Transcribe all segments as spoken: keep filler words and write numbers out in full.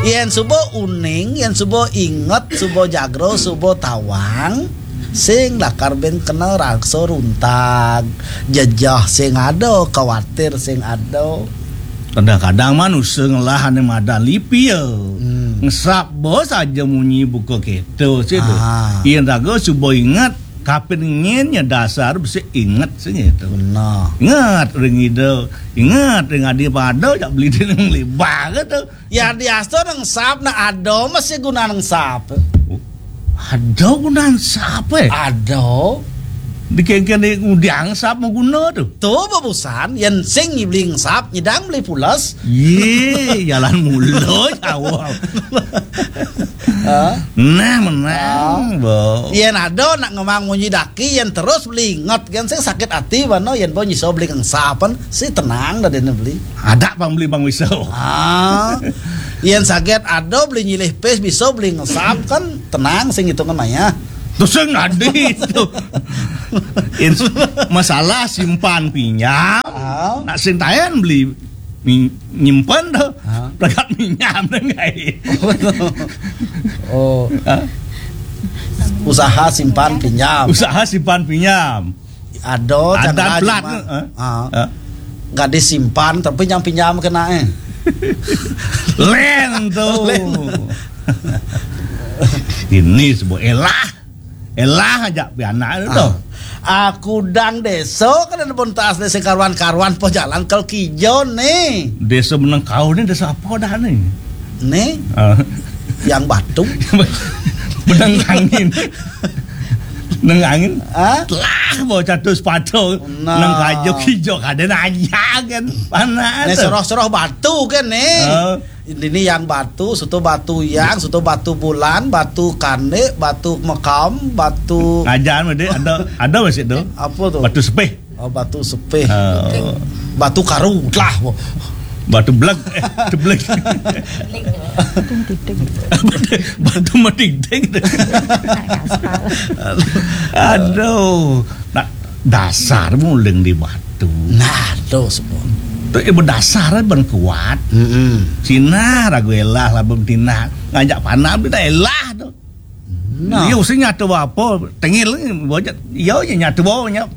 Yén suba uning, yén suba inget, suba jagra, suba tawang, sing lakar bén kena raksa runtag, jejeh sing ada, kawatir sing ada. Kadang-kadang manusa ngelah ané madan lipi ya. Hmm. Ngesap ba saja munyi buka kéto sih tu. Ah. Yén raga suba inget, kapin ngin ya dasar bisi inget sih gitu. Benar. Inget ring ida, inget ring adi pada jak beli dina ngelibah gitu. Ya, diasta nang sap, nah, ada masih guna nang sap. Ada guna sap, eh? Ada. Dikengken di ngudiang sap mau guna tu. Tu babusan, yen sing beli sap, nyidang beli pules. Ye, jalan mula jauh. Ha? Nah, menang, ah. Bo. Yen ada nak ngemang munyi daki, yen terus beli inget, kan sing sakit hati, mana yen bo nyiso beli ngsapan, si tenang dah dia beli. Ada pang beli bang wiso. Ah, yen saget ada beli nyilih pis bisa beli ngesap kan tenang sing hitungan maya. Terus sing adi itu. Ins-, masalah simpan pinjam, ah, nak sing tayan beli mi-, nyimpan tu. Ah. Pegat minjam dengan. Oh. Ah. Usaha simpan pinjam. Usaha simpan pinjam. Ada, ada cakap pelat, cuma, eh? Ah. Eh. Nggak disimpan, tapi yang pinjam kena, eh. Len tu. Len. Ini sebuah elah. Elah aja pianak tu. Ah. Aku dang desa kan ada bontas desa karuan-karuan po jalan kal kijo ni. Desa Menengkau ni desa apa dah ni? Ni? Ah. Yang batu. Benang angin. Nang angin. Ah? Telah mau jatuh sepatu. Nah. Nang kajo kijo kada nanya kan. Panas. Ni tu. Seroh-seroh batu kan ni. Ah. Ini yang batu, suatu batu yang, suatu batu bulan, batu kane, batu mekam, batu. Ngajar mesti ada, ada masih tu. Apa tu? Batu sepih. Oh, batu sepih. Ah. Batu karu lah. Batu beleg, eh, batu beleg. Batu, batu mating-ting. Aduh, nak dasar muling di batu. Nah, tu semua. Tu ibu dasar ban kuat. Mm-mm. Sina ragu elah lah betina ngajak panah bina elah tu. Nah. Iya, usah nyatu apa, tengil ni, bocah. Iya, iya, nyatu apa, nyap.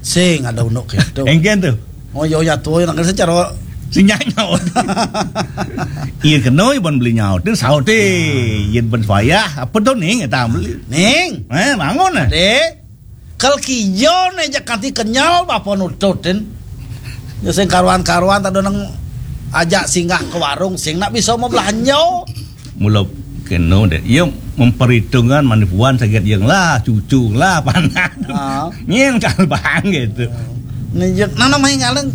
Sing ada unduk gitu. Engken tu. Oh, iya, nyatu, iya, nak kena secara si nyanyaut. Iya, kena, iya, ban beli nyaut, ni saut, eh. Iya, ban payah, apa tu, ning, kata beli. Ning. Eh, bangun, eh. Dek. Kal kijo ni, jak kanti kenyal, bapa nututin. Ya, sing karuan-karuan, tak ada nang ajak singgah ke warung, sing nak bisa mau belanja. Mula kena deh. Ia memperhitungkan manipuan sakit yang lah, cucu lah, panak. Ah. Nyen kal bang gitu. Ni je, nana main ngaleng.